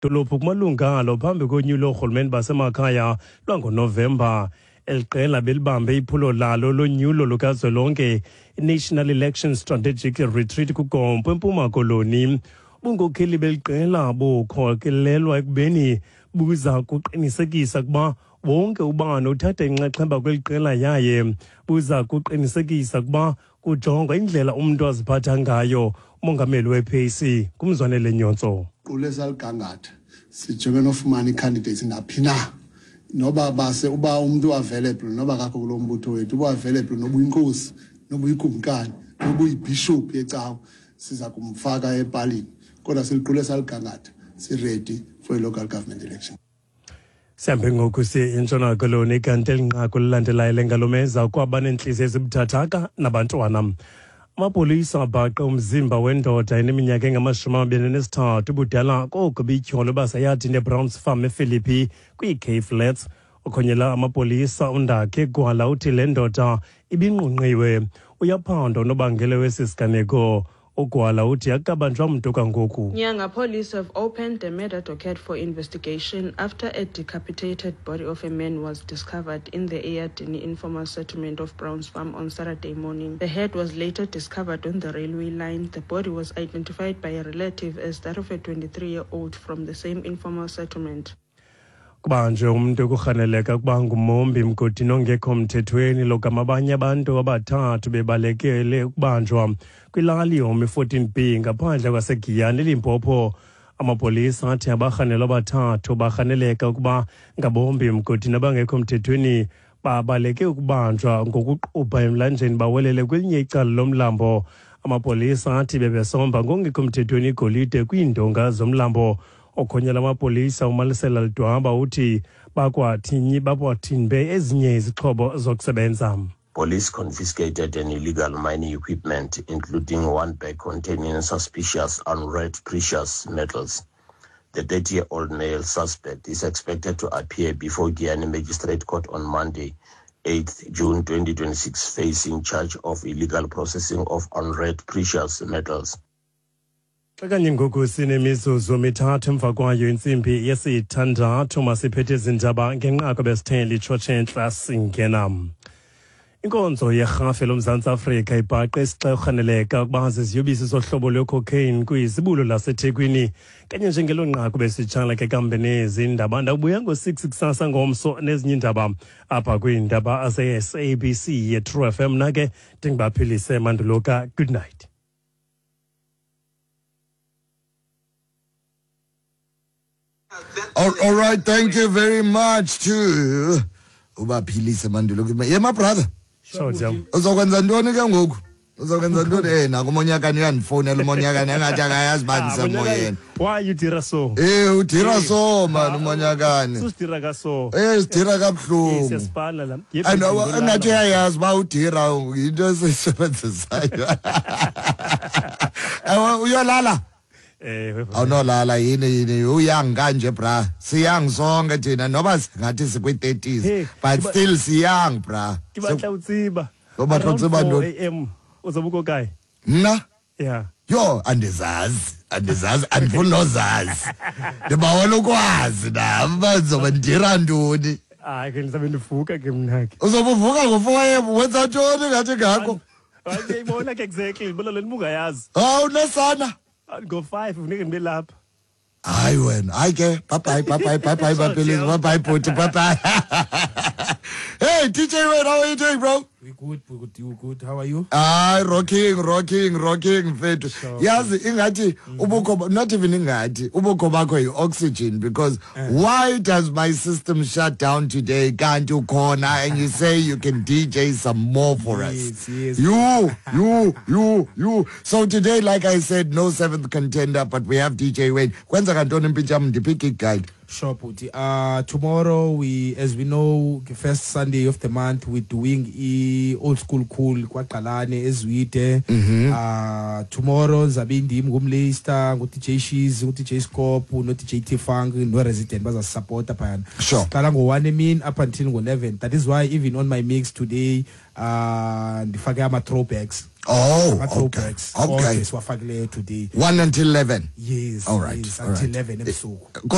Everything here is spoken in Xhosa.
Dolophu kumalungu alo phambi konyulo loorhulumente basemakhaya lwangoNovemba. Eli qela belibambe iphulo lalo lonyulo lukazwelonke i-National Election Strategic Retreat kuGompo eMpuma Koloni. Ubunkokheli beli qela bukhokelelwa ekubeni buza kuqinisekisa ukuba wonke ubani uthatha inxaxheba kweli qela yaye buza kuqinisekisa ukuba kujongwa indlela umntu aziphatha ngayo. Umongameli we-PAC nguMzwanele Nyhontso. Qule saligangatha sijonge nofumana ii-candidates naphi na noba base uba umntu available noba kakho kulo mbutho wethu uba available noba uyinkosi noba uyikumkani noba uyibhishophu yecawa siza kumfaka epalini kodwa siliqule saligangatha si-ready for i-local government election. Sihambe ngoku siye eNtshona Koloni kanti eli nqaku lilandelayo lengalomeza kwaba neentliziyo ezibuthathaka nabantwana. Amapolisa abhaqe umzimba wendoda eneminyaka engama-23 ubudala koko bityholo baseyadini eBrowns Farm ePhilippi kwii-Cape Flats. Okhonyela amapolisa uNdakhe Gwala uthi le ndoda ibinqunqiwe. Uyaphandwa unobangela wesi siganeko. UGwala uthi akukabanjwa mntu kangoku. Nyanga police have opened a murder docket for investigation after a decapitated body of a man was discovered in the Eyadini informal settlement of Browns Farm on Saturday morning. The head was later discovered on the railway line. The body was identified by a relative as that of a 23-year-old from the same informal settlement. Kubanjwe umntu ekurhaneleka ukuba ngumombi mgodini ongekho mthethweni logama abanye abantu abathathu bebalekele ukubanjwa kwilali yomi 14B ngaphandle kwaseGiyani eLimpopo. Amapolisa athi abarhanelwa abathathu barhaneleka ukuba ngabombi mgodini abangekho mthethweni babaleke ukubanjwa ngokuqubha emlanjeni bawelele kwelinye icala lomlambo. Amapolisa athi bebesomba ngongekho mthethweni igolide kwiindonga zomlambo. Okhonyela amapolisa uMalisela Lidwaba uthi bakwathinyi bakwathimbe ezinye izixhobo zokusebenza. Police confiscated an illegal mining equipment, including one bag containing suspicious unread precious metals. The 30-year-old male suspect is expected to appear before Giyani Magistrate Court on Monday, 8th June 2026, facing charge of illegal processing of unread precious metals. Xa kanye ngoku sinemizuzu mithathu emva kwayo intsimbi yesithandathu, masiphethe izindaba ngenqaku besithe litshotshe entla singena. Inkonzo yerhafu loMzantsi Afrika ibhaqe isixa erhaneleka ukuba ziziyobisi zohlobo lwecocaine kwizibulo laseThekwini. Kanye njengelo nqaku besitshala ke kambe nezi ndaba. Ndawubuya ngo-6 kusasa ngomso nezinye iindaba apha kwiindaba ze-SABC ye-True FM. Mna ke ndingubaphilise Manduluka. Good night. All right, thank you very much to ubaphilise Mandulo. Yeah, my brother. Sure, Jam. Uzokwenza ntoni ke ngoku? Uzokwenza ntoni? Naku uMonyakane uyandifowunela uMonyakane engathi akayazi uba Ah, ndisemoyeni. Why you dira so? Udira so man uMonyakane. Susidira ka so. Sidira kabuhlungu. Siyasipana la. And engathi uyayazi uba udira yinto esiyisebenzisayo. Ewe, uyolala? Awunolala yini yini uyang kanje bra. Siyang sonke thina noba singathi sikwi-30s Hey, but still siyang bra. Ke batla o tseba. O batla o tseba Around ntoni? 4 AM uzobe uko kae? Mna? Yeah. Yho, andizazi. Andizazi, andifuni nozazi. Ndibawela ukwazi nam uba ndizobe ndidira ntoni. Hayi ke ndizabe ndivuka ke mna ke. Uzobe uvuka ngo-4 AM, wenza ntoni ngathi ngako? Hayi, ndiyayibona ke exactly, ndibona le nto ubungayazi. Hawu, unesana? Ngo-5 funeke ndibe lapha. Hayi wena, hayi ke, bye bye, bye bye, bye bye, Bapilisi, bye bye, Bhuti, bye bye. Hey, DJ Wayne, how are you doing, bro? We good, we good, you good. How are you? Rocking, rocking, rocking, mfethu. Sure. Yazi ingathi ubukho, not even ingathi, ubukho bakho yi-oxygen, because why does my system shut down today? Kanti ukhona and you say you can DJ some more for us. Yes, yes. You, you, you, you. So today, like I said, no seventh contender, but we have DJ Wayne. Kwenzeka ntoni mpintshi yam? Ndiphi gig guide? Sure, Bhuti. Tomorrow, as we know, the first Sunday of the month we're doing i-Old School Cool kwaQalane eZwide. Tomorrow zabe indim ngumLeicester, ngu-DJ Shiz, ngu-DJ Scope, no-DJ T-Funk, no-Resident bazasupporta phayana. Siqala ngo-1 emini up until ngo-11. That is why even on my mix today ndifake ama-throwbacks. Oh, Ama-throwbacks okay. onke siwafakileyo today. 1 until 11. Yes. All right, Yes, all until right. 11 ebusuku.